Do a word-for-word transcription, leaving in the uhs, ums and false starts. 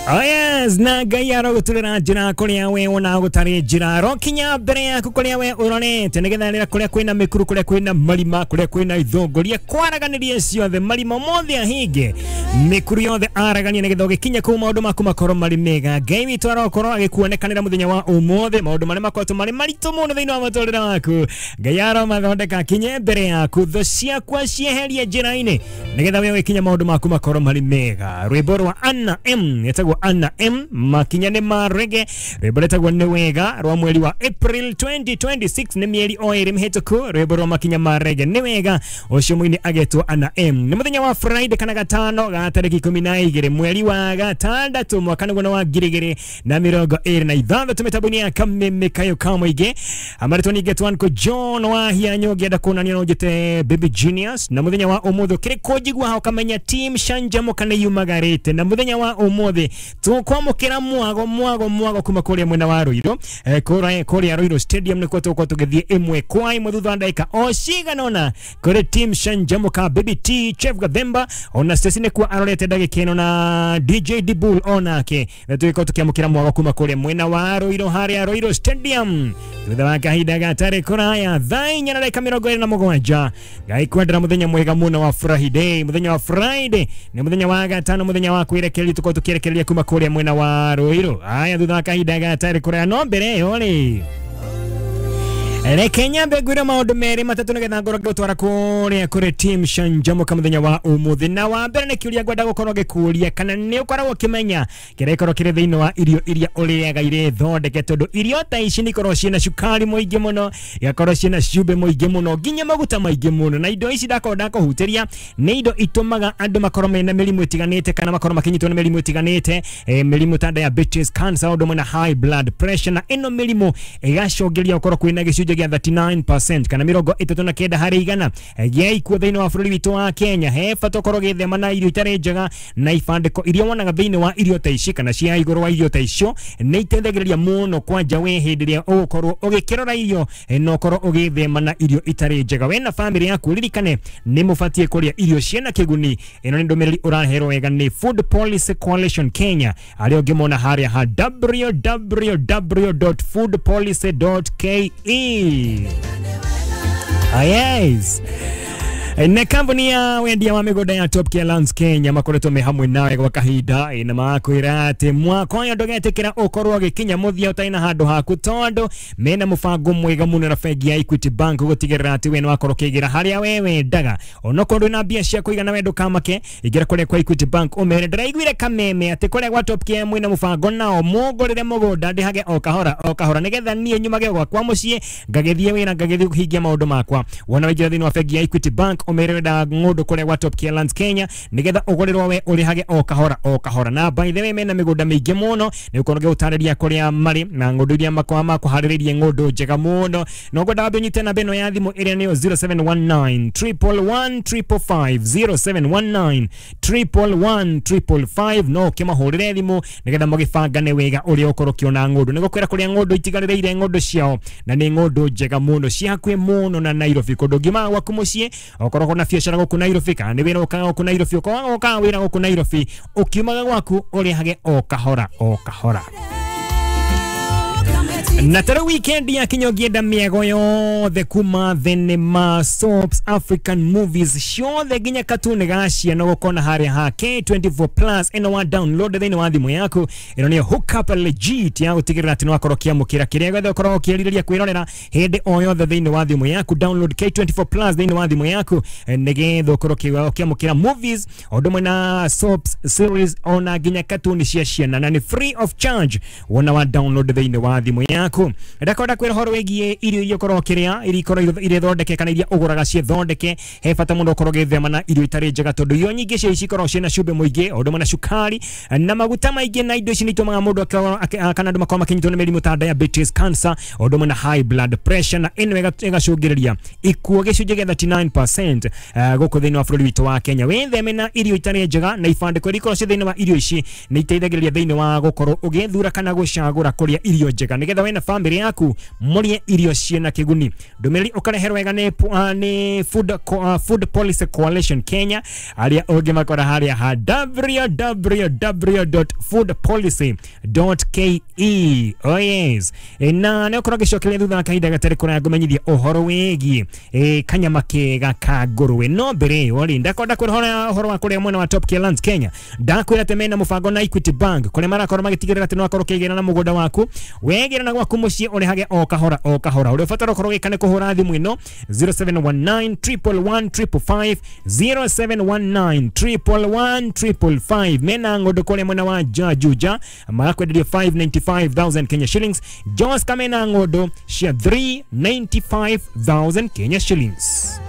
Oh yes, na Ngai arogũturĩra njĩra kũrĩa we wonaga gũtarĩ njĩra, arokinya mbere yaku kũrĩa we ũrorete, nĩgetha rĩrĩa kũrĩa kwĩna mĩkuru, kũrĩa kwĩna marima, kũrĩa kwĩna ithũngũria, kwaraganĩrie ciothe, marima mothe ahinge, mĩkuru yothe araganie, nĩgetha ũgĩkinya kũu maũndũ maku makorwo marĩ mega. Ngai witũ arokorwo agĩkuonekanĩra mũthenya wa ũmũthĩ, maũndũ marĩa makoretwo marĩ maritũ mũno thĩinĩ wa mũtũrĩre waku, Ngai aromathondeka akinye mbere yaku, thũ ciakwa cieherie njĩra-inĩ, nĩgetha we ũgĩkinya maũndũ maku makorwo marĩ mega. Rwĩmbo rwa Anna M, ĩtagwo Anna M, makinya nĩ ma reggae, rwĩmbo rwĩtagwo nĩ wega rwa mweri wa April twenty twenty-six, nĩ mĩeri o ĩrĩ mĩhĩtũku. Rwĩmbo rwa makinya ma reggae nĩ wega, ũcio mũini agetwo Anna M. Nĩ mũthenya wa Friday kana gatano ga tarĩki ikũmi na igĩrĩ mweri wa gatandatũ mwaka nĩguo wa ngiri igĩrĩ na mĩrongo ĩrĩ na ithathatũ, mĩtambo-inĩ ya Kameme Kayo ka Mũingĩ. Amarĩtwo ningĩ Twanko John wa Hianyo, ngĩenda kuonania no njĩte Baby Genius. Na mũthenya wa ũmũthĩ ũkĩrĩ kũnjigua hau ũkamenya team Canjamũka nĩ yumagarĩte. Na mũthenya wa ũmũthĩ tũkwamũkĩra mwago mwago mwago kuma kũrĩa mwena wa Ruiru, eh, kũrĩa kũrĩa Ruiru Stadium nĩkuo tũgũkorwo tũgĩthiĩ ĩmwe kwa ĩmwe thutha wa ndagĩka o cigana ũna kũrĩ team Canjamũka, Baby T, Chef Gathemba ona Stacy nĩkuo arorete ndagĩka ĩno na D J Dibul onake, na tũgĩkorwo tũkĩamũkĩra mwago kuma kũrĩa mwena wa Ruiru harĩa Ruiru Stadium thutha wa kahinda gatarĩ kũraya thaa inya na ndagĩka mĩrongo ĩrĩ na mũgwanja. Ngai kwendera mũthenya mwega mũno wa Friday. Mũthenya wa Friday nĩ mũthenya wa gatano, mũthenya wa kwĩrekereria, tũkorwo tũkĩrekereria kuma kũrĩa mwena wa Ruiru. Aya, thutha wa kahinda gatarĩ kũraya, no mbere ĩyo rĩ, reke nyambe ngwĩre maũndũ merĩ matatũ nĩgetha ngorwo ngĩgũtwara kũrĩa kũrĩ team Canjamũka mũthenya wa ũmũthĩ. Na wa mbere nĩ kĩũria ngwenda gũkorwo ngĩkũria, kana nĩ ũkoragwo ũkĩmenya kĩrĩa gĩkoragwo kĩrĩ thĩinĩ wa irio iria ũrĩaga irĩ thondeke, tondũ irio ta ici nĩ ikoragwo ciĩna cukari mũingĩ mũno, igakorwo ciĩna cumbĩ mũingĩ mũno, nginya maguta maingĩ mũno. Na indo ici ndakorwo ndakũhutĩria nĩ indo itũmaga andũ makorwo mena mĩrimũ ĩtiganĩte, kana makorwo makĩnyitwo nĩ mĩrimũ ĩtiganĩte, eh, mĩrimũ ta diabetes, cancer, ũndũ ũmwe na high blood pressure. Na ĩno mĩrimũ ĩgacũngĩrĩria gũkorwo kwĩna gĩcunjĩ gĩa thirty-nine percent kana mĩrongo ĩtatũ na kenda harĩ igana gĩa ikuũ thĩinĩ wa bũrũri witũ wa Kenya. He bata ũkorwo ũgĩthema na irio itarĩ njega, na ibandĩko iria wonaga thĩinĩ wa irio ta ici kana cia igũrũ wa irio ta icio nĩ iteithagĩrĩria mũno kwanja we hĩndĩ ĩrĩa ũgũkorwo ũgĩkĩrora irio, na ũkorwo ũgĩthema na irio itarĩ njega. We na famĩlĩ yaku ririkane nĩ mũbatiĩ kũrĩa irio ciĩna kĩguni. Ĩno nĩ ndũmĩrĩri ũraherwo wega nĩ Food Policy Coalition Kenya, arĩa ũngĩmona harĩa ha w w w dot food policy dot k e. Ah, yes. Na kambuni ya wendia wa mĩgũnda ya Top Care Lands Kenya makoretwo me hamwe nawe gwa kahinda, na makwĩra atĩ mwaka ũyũ ndũgetĩkĩra ũkorwo ũgĩkinya mũthia ũtarĩ na handũ haku, tondũ mena mũbango mwega mũno na bengi ya Equity Bank gũtigĩrĩra atĩ we nĩ wakorwo ũkĩigĩra harĩa we wendaga. Onokorwo ndwĩna mbia cia kũigana we ndũkamake, ingĩra kũrĩa kwa Equity Bank ũmere ndĩraiguire kameme atĩ kũrĩa gwa Top Care mwĩna mũbango nao mũngũrĩre mũgũnda ndĩhage o kahora o kahora, nĩgetha niĩ nyumage gwakwa mũciĩ ngagĩthiĩ wĩra ngagĩthiĩ kũhingia maũndũ makwa. Wona waingĩra thĩinĩ wa bengi ya Equity Bank ũmere wenda ng'ũndũ kũrĩa gwa Top Care Lands Kenya, nĩgetha ũgũrĩrwo we ũrĩhage o kahora o kahora. Na by the way mena mĩgũnda mĩingĩ mũno, nĩ ũkorwo ngĩgũtarĩria kũrĩa marĩ na ng'ũndũ iria makoragwo makũharĩrĩirie ng'ũndũ njega mũno. No ngwenda wambe ũnyite namba ĩno ya thimũ ĩrĩa nĩyo zero seven one nine triple one triple five, zero seven one nine triple one triple five, no ũkĩmahũrĩre thimũ nĩgetha mũgĩbangane wega ũrĩa ũkorwo ũkĩona ng'ũndũ. Nĩgũkwĩra kũrĩa ng'ũndũ itigarĩrĩire ng'ũndũ ciao, na nĩ ng'ũndũ njega mũno ciĩ hakuhĩ mũno na Nairobi, kũndũ ũngiumaga gwaku mũciĩ okorwo na biacara gũkũ Nairobi, kana nĩ wĩra ũkaga gũkũ Nairobi, ũkorwo ũkaga wĩra gũkũ Nairobi, ũkiumaga gwaku ũrĩhage o kahora o kahora. Na tarĩu weekend ya kinya ũngĩenda mĩago yothe kuma thenema, soaps, African movies ciothe nginya katuni ga ciana ũgũkona harĩa ha K twenty-four plus. Ĩno wa download thĩinĩ wa thimũ yaku, ĩno nĩyo hook up legit ya gũtigĩrĩra atĩ nĩwakorwo ũkĩamũkĩra kĩrĩa gĩothe ũkoragwo ũkĩrirĩria kwĩrorera hĩndĩ o yothe thĩinĩ wa thimũ yaku. Download K twenty-four plus thĩinĩ wa thimũ yaku nĩgetha ũkorwo ũkĩamũkĩra movies o ũndũ ũmwe na soaps, series ona nginya katuni cia ciana, na nĩ free of charge wona wa download thĩinĩ wa thimũ yaku. Ndakwenda kwĩra ũhoro wĩgiĩ irio iria ũkoragwo ũkĩrĩa, iria ikoragwo irĩ thondeke kana iria ũgũraga ciĩ thondeke. He bata mũno ũkorwo ũgĩthema na irio itarĩ njega, tondũ irio nyingĩ cia ici ikoragwo ciĩna cumbĩ mũingĩ, o ũndũ ũmwe na cukari na maguta maingĩ, na indo ici nĩ itũmaga mũndũ kana andũ makorwo makĩnyitwo nĩ mĩrimũ ta diabetes, cancer, o ũndũ ũmwe na high blood pressure, na ĩno ĩgacũngĩrĩria ikuũ gĩcunjĩ gĩa thirty-nine percent gũkũ thĩinĩ wa bũrũri witũ wa Kenya. Wĩtheme na irio itarĩ njega, na ibandĩko iria ikoragwo ciĩ thĩinĩ wa irio ici nĩ iteithagĩrĩria thĩinĩ wa gũkorwo ũgĩthura kana gũcagũra kũrĩa irio njega, nĩgetha we we na family yaku mũrĩe irio ciĩna kĩguni. Ndũmĩrĩri ũkareherwo wega nĩ uh, nĩ Food, uh, Food Policy Coalition Kenya, arĩa ũngĩmakora harĩa ha w w w dot food policy dot k e. Oh yes. E, na nĩ ũkorwo ngĩcokeria thutha wa kahinda gatarĩ kũraya ngũmenyithia ũhoro wĩgiĩ e, kanyama kega ka ngũrwe. No mbere ĩyo rĩ, ndakwenda kwĩra ũhoro wa kũrĩa mwena wa Top Care Lands Kenya. Ndakwĩra atĩ mena mũbango na Equity Bank kũrĩa marakorwo magĩtigĩrĩra atĩ no akorwo ũkĩgĩra na mũgũnda waku, wegĩra na gwaku mũciĩ, ũrĩhage o kahora o kahora. Ũrĩa ũbatara ũkorwo ũgĩka nĩ kũhũra thimũ ĩno zero seven one nine triple one triple five, zero seven one nine triple one triple five. Mena ng'ũndũ kũrĩa mwena wa Juja, marakwenderia five hundred ninety-five thousand Kenya shillings. Joska mena ng'ũndũ cia three hundred ninety-five thousand Kenya shillings.